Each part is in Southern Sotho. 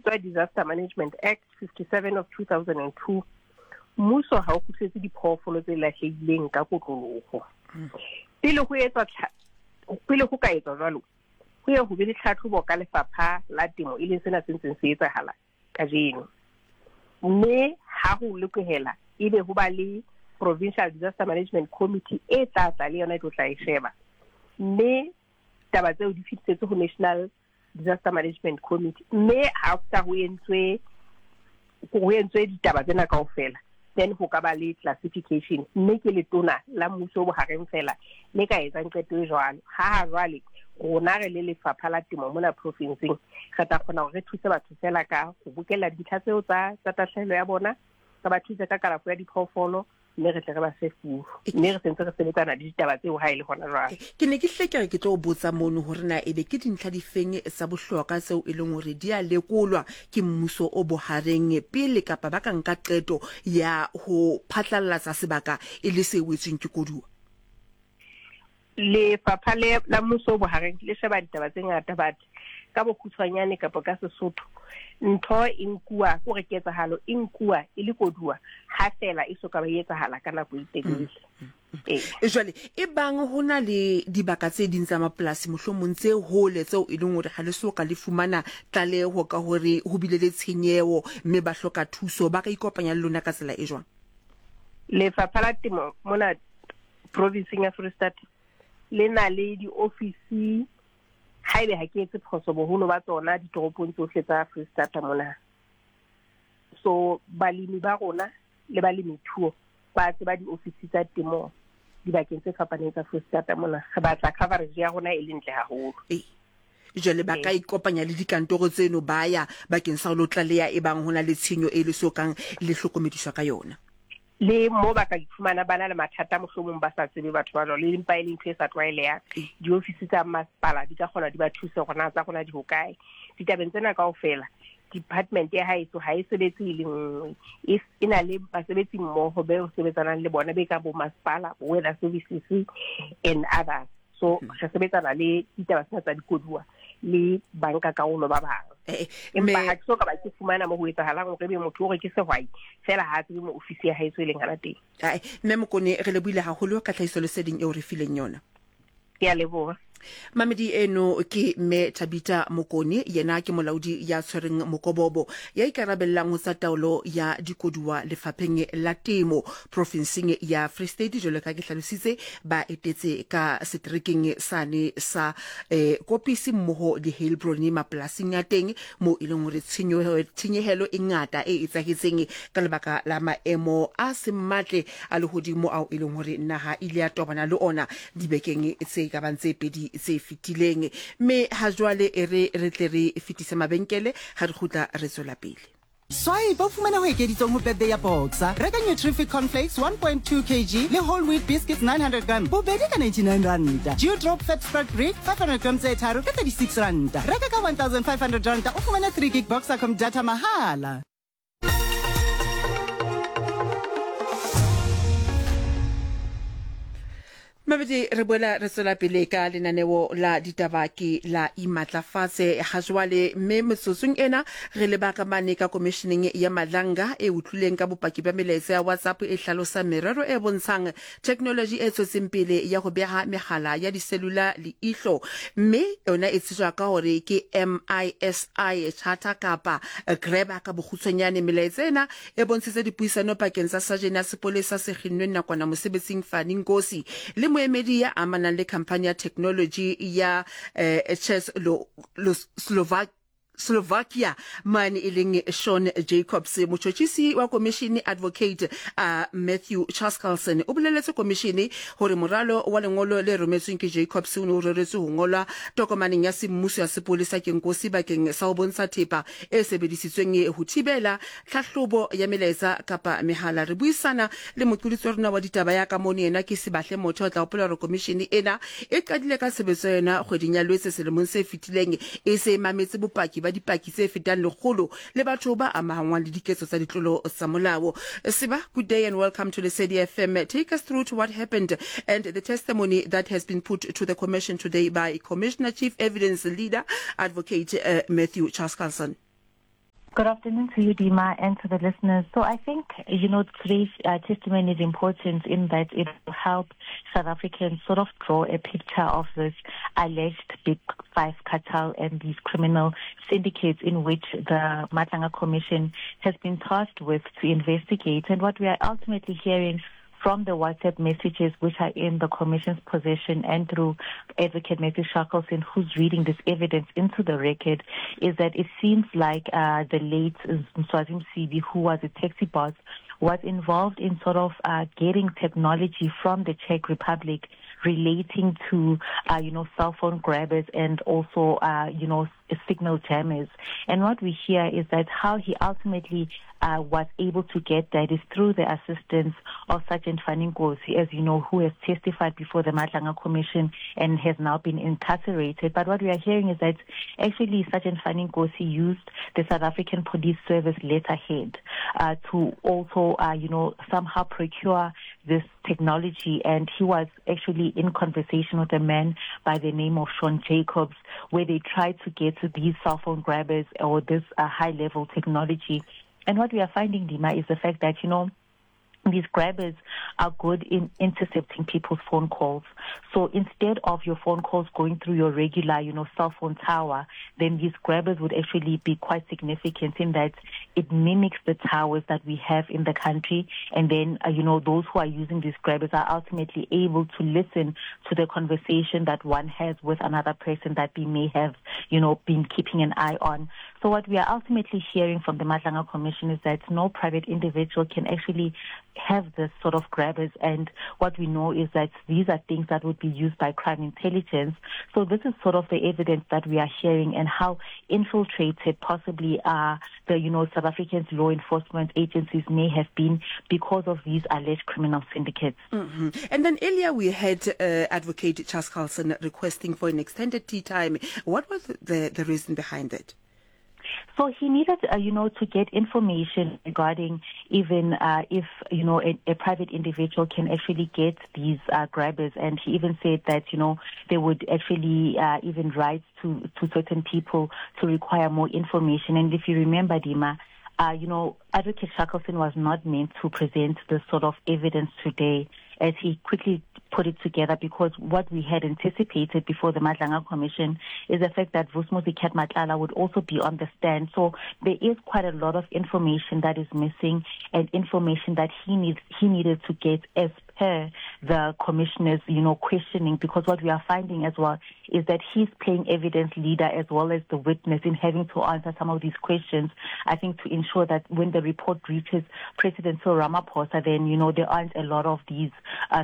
bitswa Disaster Management Act 57 of 2002. Mmuso ha o kgutlisetse diphoofolo tse lahlehileng ka kotloloho. Pele ho etswa pele ho ka etswa jwalo, ho ye ho be le tlhatlhobo ka lefapha la temo e leng sena se ntseng se etsahala kajeno. Mme ha ho lokehela ebe ho ba le Provincial Disaster Management Committee e tla tla le yona e tlo tla e sheba. Mme taba tseo di fetisetse ho National Disaster Management Committee. Mme after ho entswe ho entswe ditaba tsena kaofela, then ho ka ba le classification. Mme ke letona la mmuso o bohareng fela le ka etsang qeto e jwalo. Ha ha jwale rona re le lefapha la temo mona profinseng re tla kgona hore re thuse batho fela ka ho bokella dintlha tseo tsa tsa tahlehelo ya bona, re ba thuse ka kalafo ya diphoofolo, mme re tle re ba fe furu. Mme re sentse re sebetsana le ditaba tseo ha e le hona jwale. Ke ne ke hlile ke re ke tlo botsa mono hore na ebe ke dintlha difeng tsa bohlokwa tseo e leng hore di a lekolwa ke mmuso o bohareng pele kapa ba ka nka qeto ya ho phatlallatsa sebaka e le se wetsweng ke koduwa? Lefapha le la mmuso o bohareng le sheba ditaba tse ngata, but ka bokgutshwanyane kapa ka Sesotho, ntho e nkuwa kore ketsahalo e nkuwa e le koduwa ha feela e so ka ba e etsahala ka nako e telele. Ee. Jwale e bang ho na le dibaka tse ding tsa mapolasi mohlomong tse hole tseo e leng hore ha le so ka le fumana tlaleho ka hore ho bile le tshenyeho mme ba hloka thuso, ba ka ikopanya le lona ka tsela e jwang? Lefapha la Temo mona provinseng ya Freistata le na le diofisi, haebe ha ke etse phoso, boholo ba tsona ditoropong tsohle tsa Freistata mona. So balemi ba rona le balemithuo ba tseba diofisi tsa temo dibakeng tse fapaneng tsa Freistata mona. Re batla coverage ya rona e le ntle haholo. Ee. Jwale ba ka ikopanya le dikantoro tseno ba ya bakeng sa ho lo tlaleha ebang ho na le tshenyo e le so kang le hlokomediswa ka yona. Le mo ba ka iphumana ba na le mathata mohlomong ba sa tsebe batho ba jwalo, e empa e le ntho e sa tlwaelehang. Diofisi tsa masepala di ka kgona di ba thuse hore na tsa rona di hokae. Ditabeng tsena kaofela, department ya haeso ha e sebetse e le nngwe, e, e na le basebetsi mmoho be sebetsanang le bona be ka bo masepala, bo weather services and others. So re sebetsana le ditaba tsena tsa dikoduwa le banka karolo ba bang. Empa ha ke so ka ba ke fumana mo ho etsahalang hore ebe motho o re ke sehwai fela ha a tsebe mo ofisi ya haeso e leng hana teng. Ae, Mme Mokone, re lebohile haholo ka tlhahisoleseding eo re fileng yona. Ke a leboha. Mamedi eno ke Mme Thabita Mokone, yena ke molaodi ya tshwereng mokobobo ya ikarabellang ho tsa taolo ya dikoduwa lefapheng la temo profinseng ya Free State. Jwalo ka ke hlalositse, ba etetse ka seterekeng sane sa eh, Kopisi mmoho le Heilbron mapolasing a teng moo e leng hore tshenyehelo e ngata e etsahetseng ka lebaka la maemo a seng matle a lehodimo ao e leng hore naha e ile ya tobana le ona dibekeng tse ka bang tse pedi tse fetileng. Mme ha jwale e re re tle re fetise mabenkele, ha re kgutla re tswela pele. Swipe o fumane ho ekeditsweng ho birthday ya Boxer. Reka Nutrific Cornflakes 1.2 kg le Whole Wheat Biscuits 900 gram bobedi ka 99 ranta. Dew Drop Fat Spread Brick 500 gram tse tharo ka 36 ranta. Reka ka 1500 ranta o fumane 3 gig Boxercom data mahala. Mabedi re boela re tswela pele ka lenaneo la ditaba ke la imatlafatse ga jwale, mme metsotsong ena re leba ka mane ka komisheneng ya Madlanga e utlwileng ka bopaki bja melaetsa ya WhatsApp e hlalosang merero e bontshang theknoloji e tswetseng pele ya go beha megala ya diselula leihlo, mme yona e tsejwa ka gore ke MISI Charter kapa Grabber ka bokgutshwanyane. Melaetsa ena e bontshitse dipuisano pakeng tsa sajene ya sepolesa se kginnweng nakwana mosebetsing Fani Nkosi le moemedi ya amanang le khamphani ya theknoloji ya eh, Czechoslovak Slovakia mane e leng Sean Jacobs. Motjhotjhisi wa komishene Advocate uh, Matthew Chaskalson o boleletse komishene hore moralo wa lengolo le rometsweng ke Jacobs o ne o reretswe ho ngolwa tokomaneng ya semmuso ya sepolesa ke Nkosi bakeng sa ho bontsha thepa e sebedisitsweng ho thibela tlhahlobo ya melaetsa kapa mehala. Re buisana le moqolotsi wa rona wa ditaba ya ka mono, yena ke Sibahle Motho. O tla hopola hore komishene ena e qadile ka tshebetso ya yona kgweding ya Lwetse selemong se fetileng, e se e mametse bopaki ba dipaki tse fetang lekgolo le batho ba amahangwang le diketso tsa ditlolo tsa molao. Siba, good day and welcome to Lesedi FM. Take us through to what happened and the testimony that has been put to the commission today by Commissioner Chief Evidence Leader Advocate uh, Matthew Chaskalson. Good afternoon to you, Dima, and to the listeners. So I think, you know, today's testimony is important in that it will help South Africans sort of draw a picture of this alleged Big Five cartel and these criminal syndicates in which the Madlanga Commission has been tasked with to investigate. And what we are ultimately hearing from the WhatsApp messages which are in the Commission's possession and through Advocate Matthew Shackleton, who's reading this evidence into the record, is that it seems like the late Mswazi Msibi, who was a taxi boss, was involved in sort of getting technology from the Czech Republic relating to, you know, cell phone grabbers and also, you know, signal jammers. And what we hear is that how he ultimately was able to get that is through the assistance of Sergeant Fani Nkosi, as you know, who has testified before the Madlanga Commission and has now been incarcerated. But what we are hearing is that actually Sergeant Fani Nkosi used the South African Police Service letterhead to also, you know, somehow procure this technology. And he was actually in conversation with a man by the name of Sean Jacobs, where they tried to get these cell phone grabbers or this high-level technology. And what we are finding, Dima, is the fact that, you know, these grabbers are good in intercepting people's phone calls. So instead of your phone calls going through your regular, you know, cell phone tower, then these grabbers would actually be quite significant in that it mimics the towers that we have in the country. And then, you know, those who are using these grabbers are ultimately able to listen to the conversation that one has with another person that we may have, you know, been keeping an eye on. So what we are ultimately hearing from the Madlanga Commission is that no private individual can actually have this sort of grabbers, and what we know is that these are things that would be used by crime intelligence. So this is sort of the evidence that we are hearing, and how infiltrated possibly the, you know, South Africans' law enforcement agencies may have been because of these alleged criminal syndicates. Mm-hmm. And then earlier we had Advocate Chaskalson requesting for an extended tea time. What was the reason behind it? So he needed, you know, to get information regarding even if, you know, a private individual can actually get these grabbers. And he even said that, you know, they would actually even write to certain people to require more information. And if you remember, Dima, you know, Advocate Shackleton was not meant to present this sort of evidence today, as he quickly put it together, because what we had anticipated before the Madlanga Commission is the fact that Vusimuzi Cat Matlala would also be on the stand. So there is quite a lot of information that is missing, and information that he needed to get as per the commissioner's, you know, questioning, because what we are finding as well is that he's playing evidence leader as well as the witness in having to answer some of these questions, I think, to ensure that when the report reaches President Cyril Ramaphosa, then, you know, there aren't a lot of these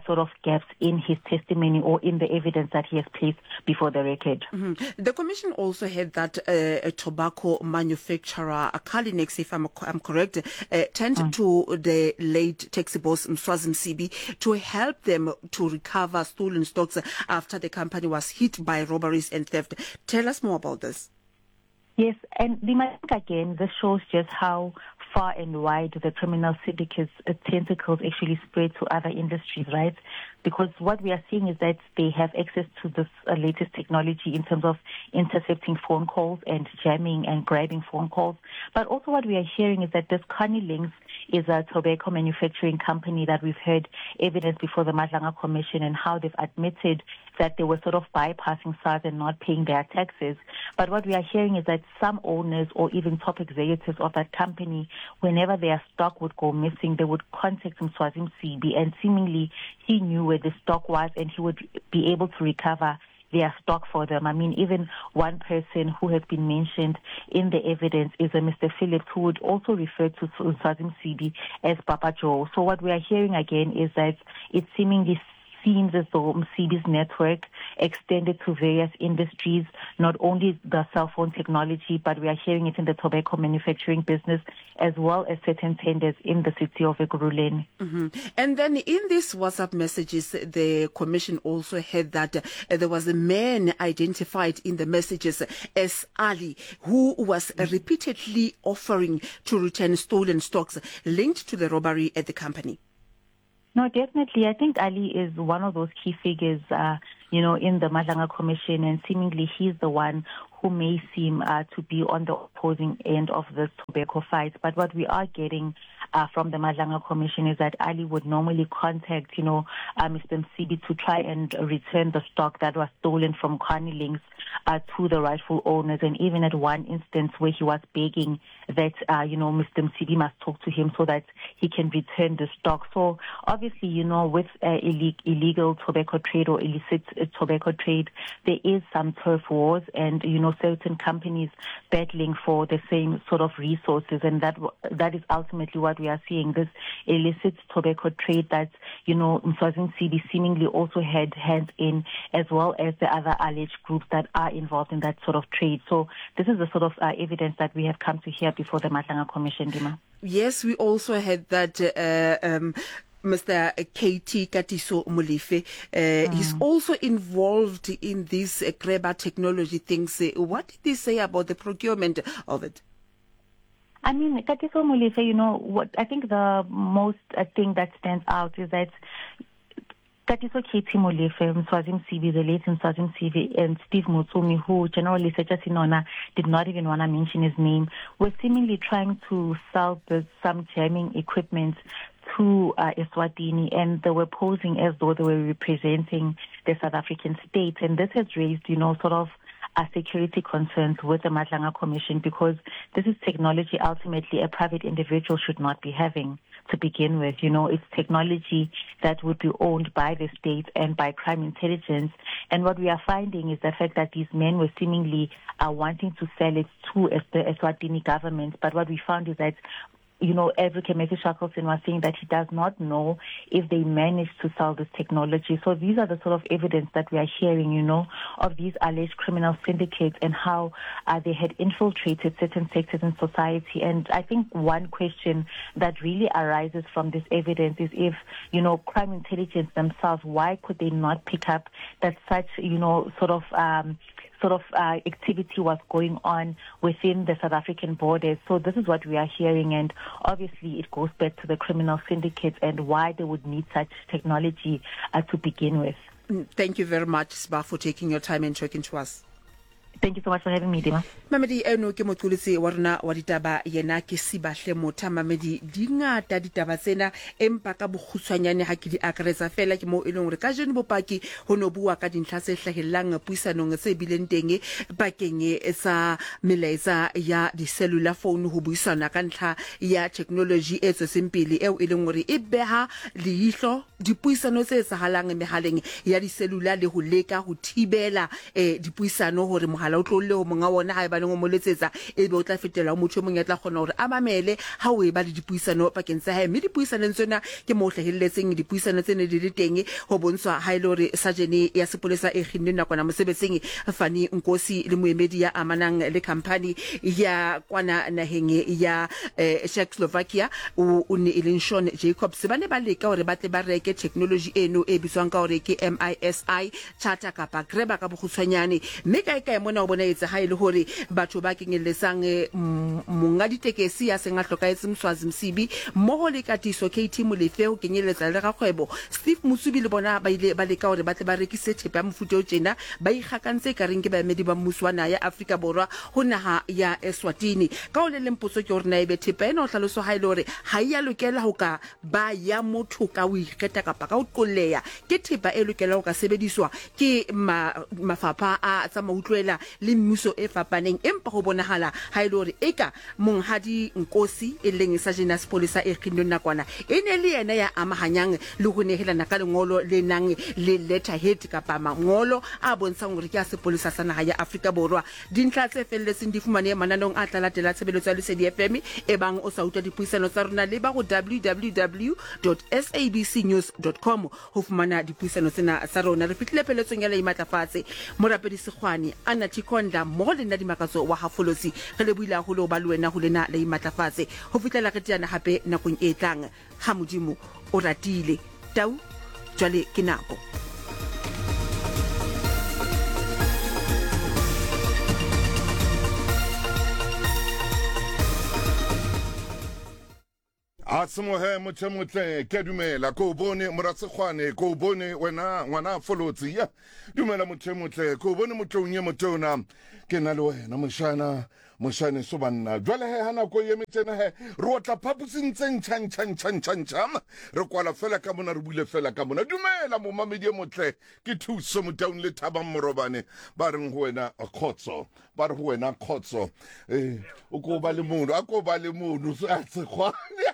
sort of gaps in his testimony or in the evidence that he has placed before the record. Mm-hmm. The commission also had that a tobacco manufacturer, Kalinex, if I'm correct, turned to the late taxi boss Mswazi Msibi to help them to recover stolen stocks after the company was hit by robberies and theft. Tell us more about this. Yes, and I think again, this shows just how far and wide the criminal syndicates' tentacles actually spread to other industries, right? Because what we are seeing is that they have access to this latest technology in terms of intercepting phone calls and jamming and grabbing phone calls. But also what we are hearing is that this Carnilinx is a tobacco manufacturing company that we've heard evidence before the Madlanga Commission, and how they've admitted that they were sort of bypassing SARS and not paying their taxes. But what we are hearing is that some owners or even top executives of that company, whenever their stock would go missing, they would contact Mswazi Msibi, and seemingly he knew where the stock was and he would be able to recover their stock for them. I mean, even one person who has been mentioned in the evidence is a Mr. Phillips, who would also refer to Mswazi Msibi as Papa Joe. So what we are hearing again is that it seemingly seems as though Msibi's network extended to various industries, not only the cell phone technology, but we are hearing it in the tobacco manufacturing business, as well as certain tenders in the city of Ekurhuleni. Mm-hmm. And then in these WhatsApp messages, the commission also heard that there was a man identified in the messages as Ali, who was repeatedly offering to return stolen stocks linked to the robbery at the company. No, definitely. I think Ali is one of those key figures, you know, in the Madlanga Commission, and seemingly he's the one who may seem uh, to be on the opposing end of this tobacco fight. But what we are getting uh, from the Madlanga Commission is that Ali would normally contact, you know, uh, Mr. Msibi to try and return the stock that was stolen from Carney Links uh, to the rightful owners. And even at one instance where he was begging that, uh, you know, Mr. Msibi must talk to him so that he can return the stock. So obviously, you know, with uh, illegal tobacco trade or illicit uh, tobacco trade, there is some turf wars and, you know, certain companies battling for the same sort of resources. And that, that is ultimately what we are seeing, this illicit tobacco trade that, you know, Mswazi Msibi seemingly also had hands in, as well as the other alleged groups that are involved in that sort of trade. So this is the sort of uh, evidence that we have come to hear before the Madlanga Commission, Dima. Yes, we also had that uh, um, Mr. KT Katiso Molefe. Uh, mm. He's also involved in these uh, Greba technology things. Uh, what did they say about the procurement of it? I mean, Katiso Molefe, you know, what I think the most uh, thing that stands out is that Katiso KT Molefe, Mswazi Msibi, the late Mswazi Msibi, and Steve Motsumi, who General Lesetja Senona did not even want to mention his name, were seemingly trying to sell the, some jamming equipment to uh, Eswatini, and they were posing as though they were representing the South African state. And this has raised, you know, sort of uh, security concerns with the Madlanga Commission because this is technology ultimately a private individual should not be having to begin with. You know, it's technology that would be owned by the state and by crime intelligence. And what we are finding is the fact that these men were seemingly uh, wanting to sell it to the Eswatini government. But what we found is that you know, Advocate Matthew Shackleton was saying that he does not know if they managed to sell this technology. So these are the sort of evidence that we are hearing, you know, of these alleged criminal syndicates and how uh, they had infiltrated certain sectors in society. And I think one question that really arises from this evidence is if, you know, crime intelligence themselves, why could they not pick up that such, you know, sort of, um, sort of uh, activity was going on within the South African borders. So this is what we are hearing, and obviously it goes back to the criminal syndicates and why they would need such technology uh, to begin with. Mm, thank you very much, Sba, for taking your time and talking to us. Thank you so much for having me, Dima. Mamedi eno ke moqolotsi wa rona wa ditaba yena ke Sibahle Motha. Mamedi di ngata ditaba tsena empa ka bokgutshwanyane ha ke di akaretsa fela ke moo e leng hore kajeno bopaki ho no bua ka dintlha tse hlahellang puisanong tse bileng teng pakeng tsa melaetsa ya di-cellular phone ho buisana ka ntlha ya technology e tswetseng pele eo e leng hore e beha leihlo dipuisano tse etsahalang mehaleng ya di-cellular le ho leka ho thibela eh, dipuisano hore mohala o tlolle ho monga wona haebaneng o mo letsetsa ebe o tla fetela ho motho e mong ya tla kgona hore a mamele ha o eba le dipuisano pakeng tsa hae. Mme dipuisanong tsena ke moo hlahelletseng dipuisano tse ne di le teng ho bontshwa ha e le hore sajene ya sepolesa e kginnweng nakwana mosebetsing Fani Nkosi le moemedi ya amanang le khamphani ya kwana naheng ya eh, Czechoslovakia o o ne e leng Sean Jacobs ba ne ba leka hore ba tle ba reke technology eno e bitswang ka hore ke MISI charter kapa grabber ka bokgutshwanyane mme kae kae mona o bona etse ha e le hore batho ba kenyelletsang eh, monga ditekesi ya seng a hlokahetse Mswazi Msibi mmoho le Katiso KT Molefe ho kenyelletsa le rakgwebo Steve Motsubi le bona ba ile ba leka hore ba tle ba rekise thepa ya mofuta o tjena ba ikgakantse e ka reng ke baemedi ba mmuso wa naha ya Afrika Borwa ho naha ya Eswatini. Ka ho le leng potso ke hore na ebe thepa ena ho hlaloswa ha e le hore ha e ya lokela ho ka ba ya motho ka ho ikgetha kapa ka ho qolleha ke thepa e lokelang ho ka sebediswa ke ma, mafapha a tsa mautlwela le mmuso e fapaneng empa ho bonahala ha e le hore eka monghadi Nkosi e leng sajene ya sepolesa e kginnweng nakwana e ne le yena ya amahanyang le ho nehelana ka lengolo le nang le letterhead kapa mangolo a bontshang hore ke a sepolesa sa naha ya Afrika Borwa. Dintlha tse felletseng di fumanehe mananeong a tla latela tshebeletso ya Lesedi FM ebang o sa utlwa dipuisano tsa rona leba ho www.sabcnews.com ho fumana dipuisano tsena tsa rona. Re fihlile pheletsong ya La Imatlafatse. Morapedi Sekgwane, Anna Thikonda mmoho le nna Dimakatso wa Hafolosi re lebohile haholo ho ba le wena ho lena La Imatlafatse. Ho fihlela re teana hape nakong e tlang ha Modimo o ratile. Tau, jwale ke nako. A semohe motho e motle, ke a dumela ko o bone morasekgwane, ko o bone wena ngwana folotsi. Ya dumela motho e motle, ko o bone motloung e motona, ke na le wena moshana, moshane so banna. Jwale he ha nako e eme tjena he, re otla phaposing tse ntjha ntjha ntjha ntjha ntjha, re kwala fela ka mona, re bule fela ka mona. Dumela momamedi e motle, ke Thuso Motaung le Thabang Morobane ba reng ho wena kgotso. Ba re ho wena kgotso. Eh, o ko ba le mono, a ko ba le mono, a tsekgwane.